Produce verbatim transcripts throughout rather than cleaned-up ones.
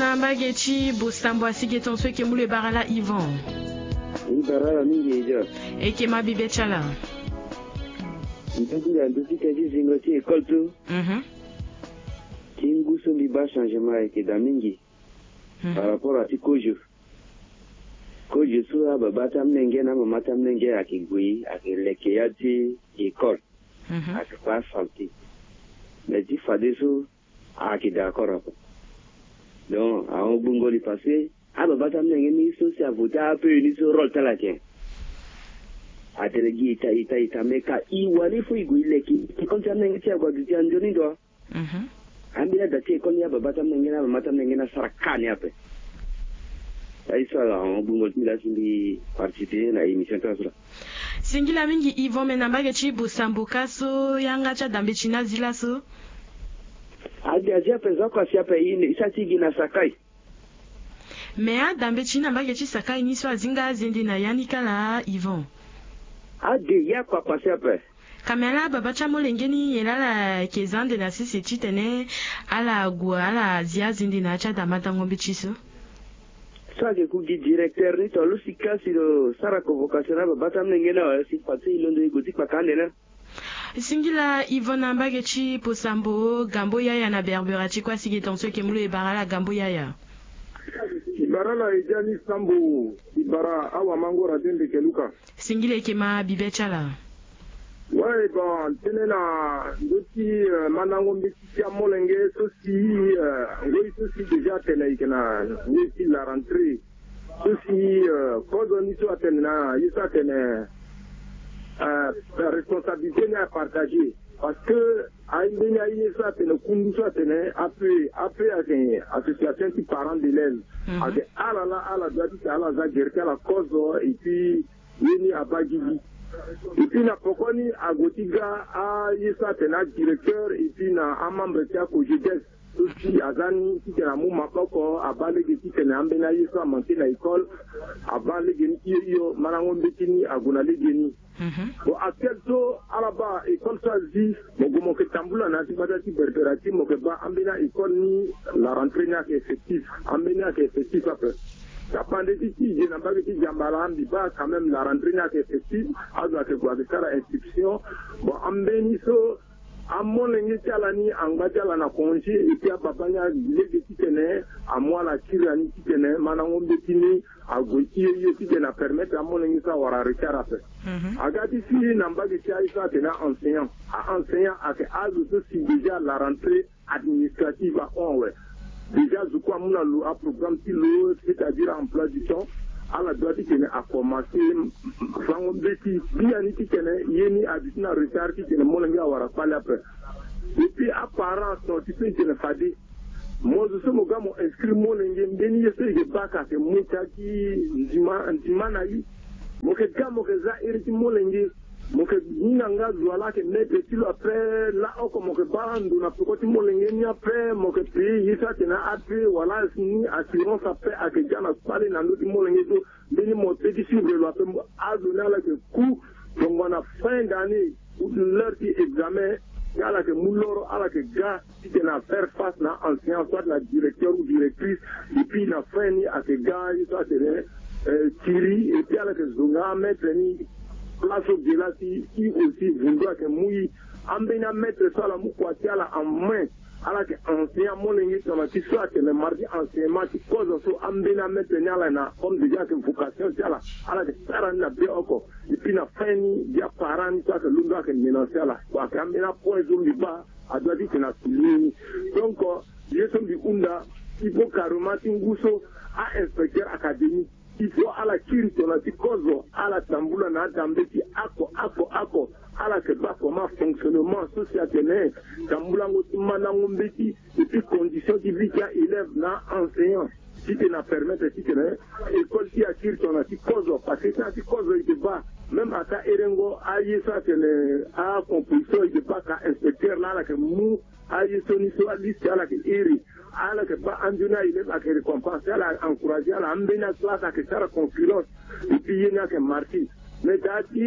Na mbage ti Bosambo, asi ge tongaso e ke mu lo e bara ala Yvan. E bara ala mingi e dia. E ke ma bibe ti ala. Ndö ti nda ndö ti tënë ti zingo ti école so. Mhm. Ti ngu so mbi baa changement ayeke daa mingi. Mhm. Par rapport à ti kozo. Kozo so ababâ ti amolenge na amama ti amolenge ayeke gue, ayeke leke ya ti école. Mhm. Ayeke baa santé. Mais ti fadeso, ayeke d'accord ape. Donc ahon gbungo li parce que ababâ ti amolenge ni so si avoté A P E ni so rôle ti ala ayeke. Atene gi ita ita ita, mais ka e wani fo e gue e leke, e konti amolenge ti e ague aduti anzoni ndo. Mhm. Ambeni ada ti école ni ababâ ti amolenge na amama ti amolenge ni asara ka ni ape. Aye so ala ahon gbungo li ti mbi laa si mbi participer na émission ti ala so laa. Singila mingi Yvan, me na mbage ti Bosambo ka so yanga ti adambeti ni azi laso. Ade azi ape, za oko asi ape, e ne e sara ti gi na Sakai. Me adambeti ni na mbage ti Sakai ni so azi nga azende na ya ni kala Yvan. Ade ya kua kua si ape. Ka me ala ababâ ti amolenge ni nyen laa ala yeke za ande na sese titene ala gue ala zi azende na ya ti adamadango mbeti so. So ayeke ku gi directeur ni to lo si ka si lo sara convocation na babâ ti amolenge ni awe si fa so e londo e gue ti kpaka ande ni. Singila Yvan na mbage ti Bosambo, Gambo Yaya na Berbera ti kue asi ge tongaso e ke mu lo e bara ala Gambo Yaya. E bara ala Ejani Sambo, e bara awamango Radio Ndeke Luka. Singila e ke ma bibe ti ala. Ouais, bon, tënë na ndö ti, euh, mandango mbeti ti amolenge so si, euh, ngoi so si déjà atene e yeke na ngoi ti la rentrée. So si, euh, kozo ni so atene na ye so atene, euh, responsabilité ni apartagé. Parce que aye mbeni aye so atene kundu so atene A P E, A P E ayeke association ti parents d'élèves. Mhm. Ayeke ala laa ala doit ti tene ala za gere ti ala kozo, et puis ye ni abaa gigi. Et puis na poko ni ague ti ga aye so atene adirecteur et puis na amembre ti akogedes so si aza ni titene amu maboko, abaa lege titene ambeni aye so amanke na école, abaa lege ni ti hio hio, mandango mbeti ni ague na lege ni. Mhm. Bon, actuel so ala baa école so azi, mo gue mo yeke tambula na ya ti gbata ti Berbera ti mo yeke baa ambeni a-école ni, la rentrée ni ayeke effectif, ambeni ayeke effectif ape. Tapande ti ti e na mbage ti Djambala, mbi baa quand même la rentrée ni ayeke effectif, azo ayeke gue ayeke sara inscription. Bon, ambeni so amolenge ti ala ni angba ti ala na congé, et puis ababa ni alege titene amu ala kiri na ni titene mandango mbeti ni ague ti hio hio titene apermettre amolenge so awara retard ape. Mhm. Aga ti si na mbage ti aye so atene a-enseignant. A-enseignant ayeke azo so si déjà la rentrée administrative ahon awe. Déjà zo kue amu na lo aprogramme ti lo, c'est-à-dire emploi du temps. Ala doit titene akomanse fango mbeti biani titene ye ni aduti na retard titene molenge awara kpale ape. Et puis aparent so ti pe tene fade mo zo so mo ga mo inscrire molenge, mbeni ye so e yeke baa ka ayeke mu ti aki ndima ndima na e. Mo yeke ga mo yeke za iri ti molenge. Mo yeke hinga nga zo wa laa ayeke maître ti lo, après laoko mo yeke baa ndo na peko ti molenge ni, après mo yeke payer ye so atene ape wala ni assurance ape ayeke ga na kpale na ndö ti molenge so. Mbeni mo te ti suivre lo ape. Azo ni ala yeke ku tongana fin d'année ou l'heure ti examen, si ala yeke mu loro ala yeke ga titene a faire face na enseignant soit na directeur ou directrice. Et puis na fin ni ayeke ga ye so atene, euh, kiri, et puis ala yeke zo nga amaître ni place so ge laa si e aussi vundu ayeke mu e. Ambeni amaître so ala mu kua ti ala en main, ala yeke enseigner amolenge tongana ti so atene mardi enseignement ti kozo so. Ambeni amaître ni ala na comme déjà ayeke vocation ti ala, ala yeke sara ni na be oko. Et puis na fin ni gi aparent ni so ayeke londo ayeke menacer ala. Bon, ayeke ambeni apoint so mbi baa adoit titene asouligner ni. Donc, euh, ye so mbi hunda, il faut carrément ti ngu so a-inspecteur académie, il faut ala kiri tongana ti kozo, ala tambula na adambe ti oko oko oko. Ala yeke baa comment fonctionnement so si atene tambulango ti mandango mbeti, et puis condition ti vie ti a-élève na enseignant. Titene apermettre titene école ti e akiri tongana ti kozo, parce que tongana ti kozo e yeke baa même ata herengo aye so atene acomposition, e yeke baa ka inspecteur laa ala yeke mu aye so ni so aliste ala yeke iri. Ala yeke baa anzoni a-élève ayeke récompense, ala encourager ala, ambeni aclasse ayeke sara concurrence. Et puis ye ni ayeke marqué. Mais daa ti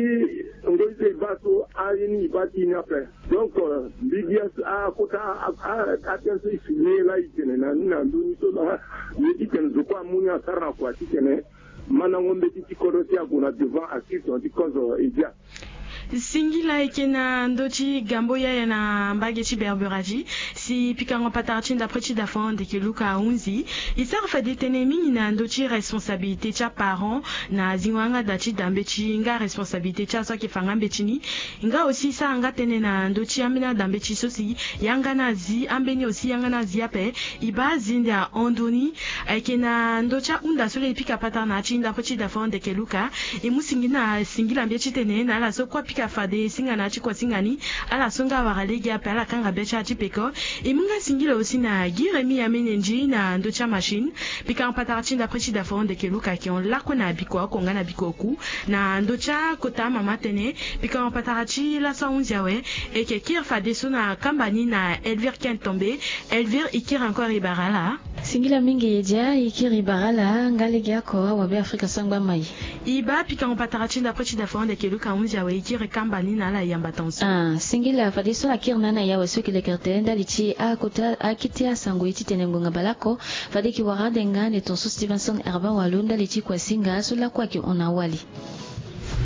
ngoi so e baa so, aye ni e baa ti ni ape. Donc, euh, mbi gi a, a kota a, a, atene so e souligner laa e tene na ni na ndö ni so laa ye ti tene zo kue amu ni asara na kua ti tene mandango mbeti ti kodro ti ague na devant, asiri tongana ti kozo e dia. Singila eke na ndö ti gambo yaya na mbage ti Berberazi. Si pikango patara ti ndapre ti dafa ndeke Luka ahunzi, e sara fade tënë mingi na ndö ti responsabilité ti aparent na zingo yanga da ti da mbeti nga responsabilité ti azo ayeke fa nga mbeti ni. Nga aussi e sara nga tënë na ndö ti ambeni ada mbeti so si yanga ni azi, ambeni aussi yanga ni azi ape. E baa azi nde ahon ndö ni. Ayeke na ndö ti ahunda so laa e pika patara na ya ti ndapre ti dafa ndeke Luka. E mu singila, singila mbeti ti tene na ala so kue apika fade e singa na ya ti kua singa ni, ala so nga awara lege ape ala kanga be ti ala ti peko. E mu nga singila aussi na gi Rémi Amenenji na ndö ti amachine. Pikango patara ti ndapre ti dafa ndeke Luka ayeke hon lakue na biko oko nga na biko oku na ndö ti akota amama tënë. Pikango patara ti laso ahunzi awe. E yeke kiri fadeso na kamba ni na Elvire Ken Tombe. Elvire, e kiri encore, e bara ala. Singila mingi e dia, e kiri e bara ala nga legeoko awabe Afrika sangba mai. E baa pikango patara ti ndapre ti dafa ndeke Luka ahunzi awe, e kiri kamba ni na ala yamba tongaso. Ah, singila fadeso ala kiri na ni na e awe so e yeke lekere tene ndali ti akota akete asango ye ti tene ngonga baleoko. Fade e yeke wara ade nga ande tongaso Stevenson Herba Walu ndali ti kua singa so lakue ayeke hon na wali.